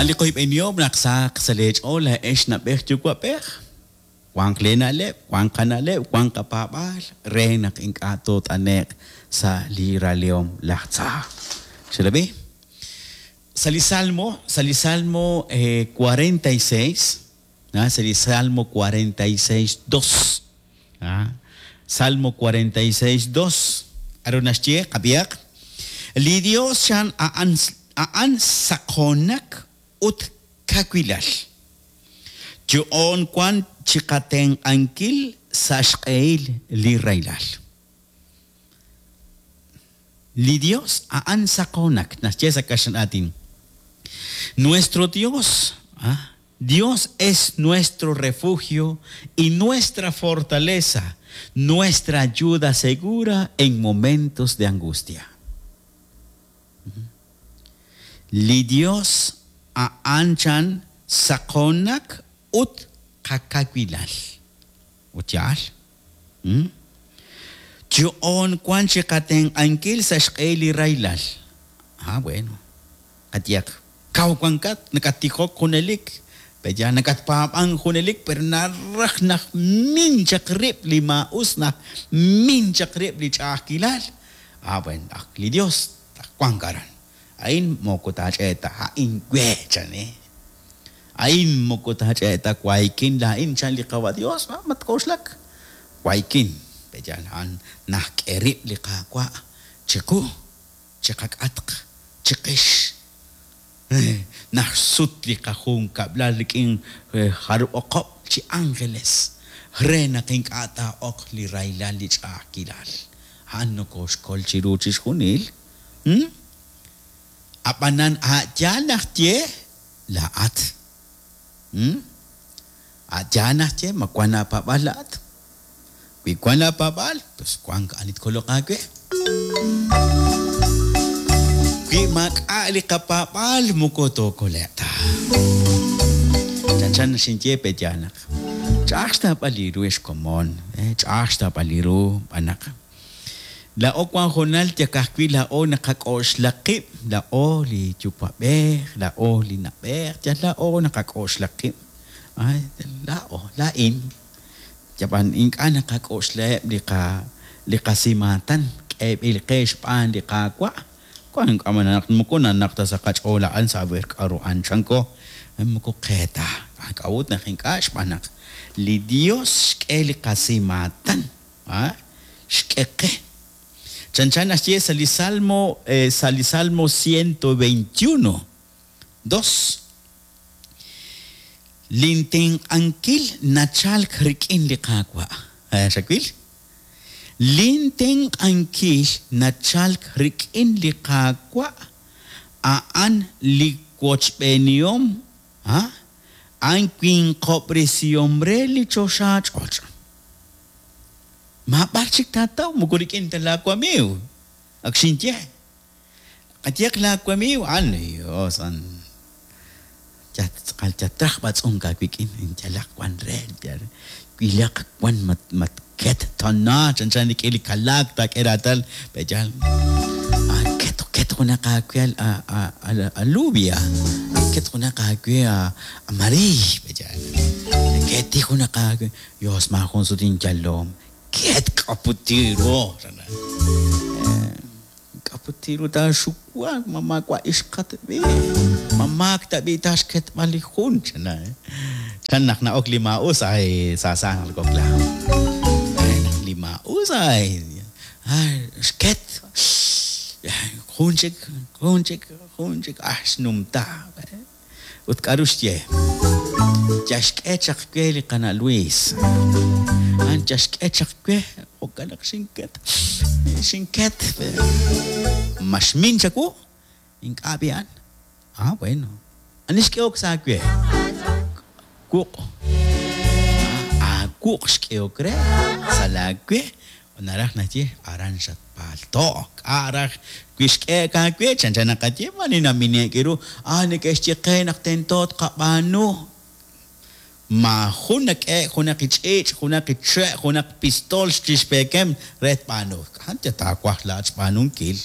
Ali qoyb'enihom naq sahaq sa' leech'ool laa'ex na'b'ej yuwa'b'ej. Wanq leena'leb', wanq qana'leb', wanq qapaab'aal re naq ink'a' toot'ane'q sa' li ralehom laj tza. Xerab'i? Sa' li Salmo, sa' li Salmo 46, sa' li Salmo 46, 2. Salmo 46, 2. K'aru naxye? Qab'ihaq. Li Dios chan a'an a'an saqoonak ut kawilal. Yo'oon wank chiqatenq'ankil sa' xq'ehil li rahilal. Li Dios a'an saqoonak, naxye sa' kaxlan aatin. Nuestro Dios, Dios es nuestro refugio y nuestra fortaleza, nuestra ayuda segura en momentos de angustia. Li Dios a'an chan saqoonak ut qakawilal. Ut yaal. Yo'oon wank chiqatenq'ankil sa' xq'ehil li rahilal. Ah, bueno. Qayehaq, kaw wankat, nakattijok junelik, pe'yaal nakatpaab'ank junelik, pero naraj naq min chaq rib' li maa'us, naq min chaq rib' li ch'a'ajkilal. Ah, bueno, ak li Dios wank aran. A'in moko taach'e' ta, a'in we, chan, eh. A'in moko taach'e' ta, waykin laa'in, chan li Qawa' Dios, ah, matk'oxlak. Waykin, pe'yaal a'an najk'e rib' li Qaawa' chiqu, chiqak'atq, chiqix. Naxsut li qajunkab'lal rik'in jarub' oqob' chi ángeles re naq ink'a' taa'ok li rahilal li ch'a'ajkilal. A'an nokooxkol chiru chixjunil. Ab'anan a' yaal naxye laa'at. A' yaal naxye ma wank aapaab'aal laa'at. Wi wank laapaab'aal, pues wank ani tkoloq aawe. Wi maak'a' li qapaab'aal moko tookole'q ta. Chanchan xinye pe' yaal naq ch'a'aj xtawb'al li ru ex komon, ch'a'aj xtawb'al li ru xb'aan naq laa'o wank hoonal yal ka'ajwi' laa'o naqak'oxla qib', laa'o li yuwa'b'ej, laa'o li na'b'ej, yal laa'o naqak'oxla qib', laa'o, laa'in. Ab'an ink'a' naqak'oxlaheb' li qa li qasimaatan k'eeb'il qe xb'aan li Qaawa', wank naq moko nanaq ta sa' qach'ool a'an sa' aver k'aru a'an chanko, moko qe ta. K'a'ut naq ink'a'? Xb'aan naq li Yos xk'e li qasimaatan, xk'e qe. Chanchan naxye sa' li Salmo sa' li Salmo 121, dos. Lintenq'ankil nachalk rik'in li Qaawa'. Xawil? Lintenq'ankil nachalk rik'in li Qaawa', a'an li wochb'eenihom, a'an winqob'resihom re li choxach'och'. Maab'ar chik taataw moko rik'in ta laawamiiw. Ak xinye. Qayehaq laawamiiw a'an, Dios, a'an yal tz'aqal yal traj b'atz'unk aawik'in, yalaq wan re, yal wilaq wan matket tana chanchan rik'in li kalaak taak'e raatal, pe'yaal ket ket junaq aawe alubia, ket junaq aawe amariiy, pe'yaal keti junaq aawe, Dios maajun sut inyalom, ket k'aputiru. K'a'ut ru taaxuwak? Ma maawa' ixqat b'i'? Ma maak tab'i' taaxketb'al li jun? Chan chan naq na'ok li maa'us, ay, sa sa naq nakokla. Naq li maa'us, ay, ay, xket. Jun chik, jun chik, jun chik, ah, xnumta. Ut k'aru xye? Yal xk'e chaq we li qana' Luis. A'an yal xk'e chaq we, jo'kan naq xinket. Xinket. Ma xmin chawu? Ink'a' b'i'an. Ah, bueno. Ani xk'ehok sa' aawe? Wuq'. Aawuq' xk'ehok re sa' laawe. Naraj naxye, aran xatpaalto'k. K'a' raj wi xk'ehe'k aawe? Chanchan naqaye, maare namine'k ru, Ah, neke'xye qe naq tento tqab'aanu. Maajun nak'ehe'k junaq li ch'iich', junaq li che', junaq pistool chi xpeekem re tb'aanu. K'a' taawaj laa'at xb'aanunkil?